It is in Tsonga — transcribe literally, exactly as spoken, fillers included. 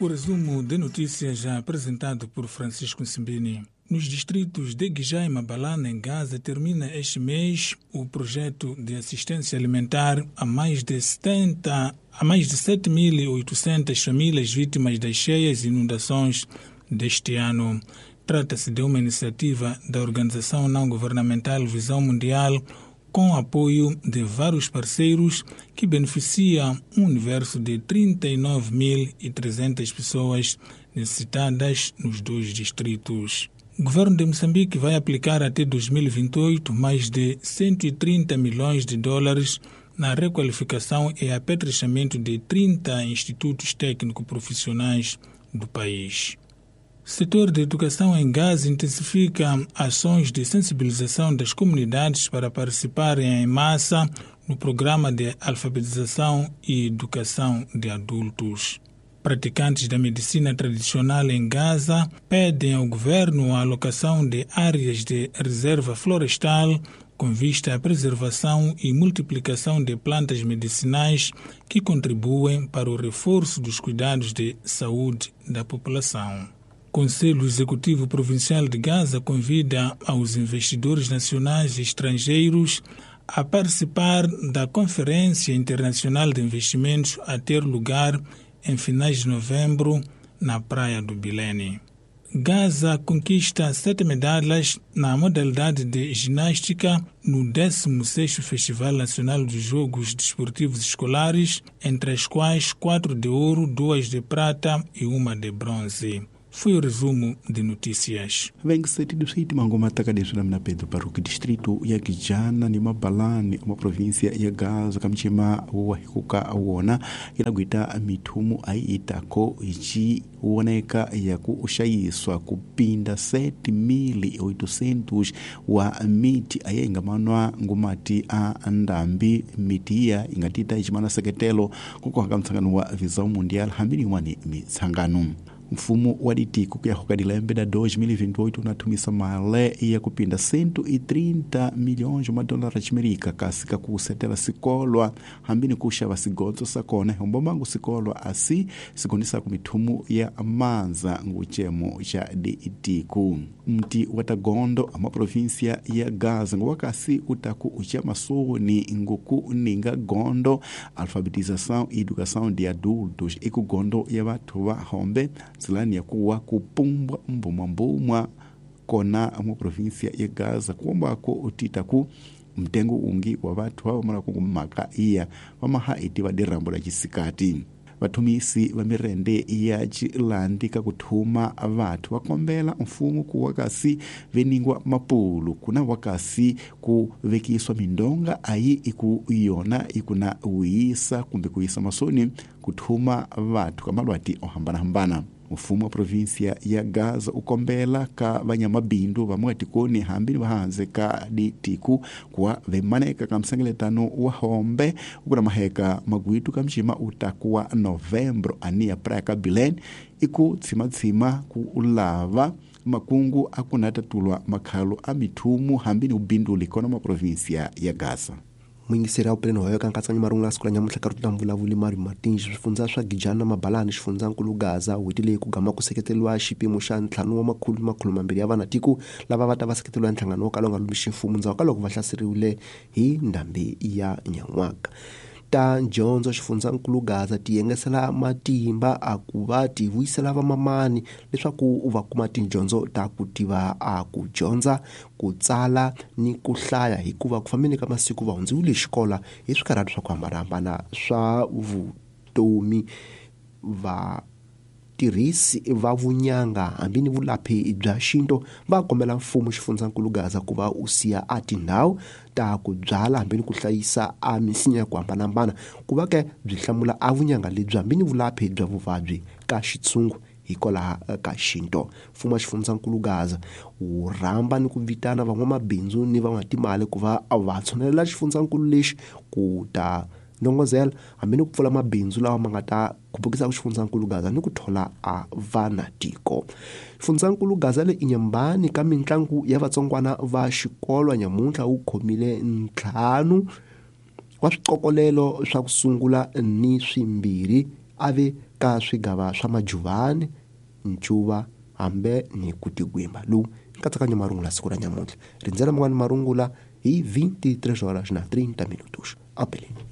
O resumo de notícias já apresentado por Francisco Simbini. Nos distritos de Guijá e Mabalana, em Gaza, termina este mês o projeto de assistência alimentar a mais de setenta, a mais de sete mil e oitocentas famílias vítimas das cheias e inundações deste ano. Trata-se de uma iniciativa da organização não-governamental Visão Mundial, com apoio de vários parceiros, que beneficia um universo de trinta e nove mil e trezentas pessoas necessitadas nos dois distritos. O governo de Moçambique vai aplicar até dois mil e vinte e oito mais de cento e trinta milhões de dólares na requalificação e apetrechamento de trinta institutos técnico-profissionais do país. O setor de educação em Gaza intensifica ações de sensibilização das comunidades para participarem em massa no programa de alfabetização e educação de adultos. Praticantes da medicina tradicional em Gaza pedem ao governo a alocação de áreas de reserva florestal com vista à preservação e multiplicação de plantas medicinais que contribuem para o reforço dos cuidados de saúde da população. O Conselho Executivo Provincial de Gaza convida aos investidores nacionais e estrangeiros a participar da Conferência Internacional de Investimentos a ter lugar em finais de novembro na Praia do Bilene. Gaza conquista sete medalhas na modalidade de ginástica no décimo sexto Festival Nacional dos Jogos Desportivos Escolares, entre as quais quatro de ouro, duas de prata e uma de bronze. Foi o resumo de notícias. Vem que setido siti mangoma takadesula mina Pedro Baruque, distrito ya Guijana ni Mabalani, uma província ya Gaza kamchima wa hikuka wona ilagwita mithumu aiitako ichi woneka ya kushayiswa kupinda sete mil e oitocentos wa miti aye ingamanwa ngumati a ndambi miti iya ingatita ichimana seketelo kukohaka mtsangano wa Visão Mundial hambini wani mitsangano. Mfumo wa ditiko kuya hoka da dois mil e vinte e oito unatumisa male ya kupinda cento e trinta milhões de dólares amerika kasika kusetela sikolwa hambini kushava sigonzo sakona hombomangu sikolwa asi sigonisa kumithumu ya manza nguchemo cha ditiko. Mti watagondo ama província ya Gaza ngwakasi utaku ucha masoni nguku ninga gondo alfabetização e educação de adultos ikugondo ya watu wa hombe zilani ya kuwa kupumbwa mbumwa mbumwa kona mu província ya Gaza kuombako utitaku mtengo ungi wa watu hao mara kungumaka iya wamaha iti vadirambo la chisikati. Vathumisi va mirende ya Chilandi ka kuthuma vathu va kombela mfumo ku wakasi veningwa mapulu kuna wakasi ku vekiswa mindonga ayi iku yona ikuna uyisa kumbe kuyisa masoni kuthuma vathu ka malwati ohambanahambana. Mfumo wa província ya Gaza ukombela ka vanyamabindu vamwe tikoni hambini vahanze ka ditiku kuwa vemaneka ka msengeletano wa hombe ukuna maheka magwitu ka mchima utakuwa novembro ania praia ka Bilene iku tsima-tsima ku ulava makungu akunatatulwa makhalo a mithumu hambini ubinduli kona ma província ya Gaza. Mwingiseri pleno hoyo kankatsanya marungula siku la nyamuhla ka rutula mvulavuli Mari Martins swifundza swa Gijana Mabalani xifundzankulu Gaza n'hweti leyi ku gama ku seketeriwa xipimo xa ntlhanu wa makhulu makhulu mambirhi ya vanatiko lava va ta va seketeriwa nhlangano wo kala wu nga lumixi mfumo ndzhaku ka loko va hlaseriwile hi ndhambi ya nyan'waka. Ta dyondzo xifundzankulu Gaza ti yengesela matimba a ku va ti vuyisela vamamani leswaku va kuma tidyondzo ta ku tiva a ku dyondza ku tsala ni ku hlaya hikuva ku fambeni ka masiku va hundziwile xikolo hi swikarhati swa ku hambanahambana swa vutomi. Va tirhisi va vunyanga hambi ni vulaphi bya xinto va kombela mfumo xifundzankulu Gaza ku va u siya a tindhawu ta ku byala hambi ni ku hlayisa a misinya ya ku hambanahambana ku va ke byi hlamula a vunyanga lebyi hambi ni vulaphi bya vuvabyi ka xitshungu hikwalaho ka xinto. Mfumo wa xifundzankulu Gaza wu rhamba ni ku vitana van'wamabindzu ni van'watimali ku va va tshonelela xifundzankulu lexi ku ta ndongozela hambi ni ku pfula mabindzu lawa ma nga ta khupukisa xifundzankulu Gaza ni ku thola a vanatiko. Xifundzankulu Gaza le inyambani ka mitlangu ya vatsongwana va xikolo nyamuntlha wu khomile ntlhanu wa swiqokolelo swa ku sungula ni swimbirhi ave ka swigava swa Majuvani, Ncuva hambe ni ku tigwimba. Lowu nkatsakanyo marungula siku ra nyamuntlha. Rindzela man'wani marungula hi vinte e três horas na trinta minutos. Apeleni.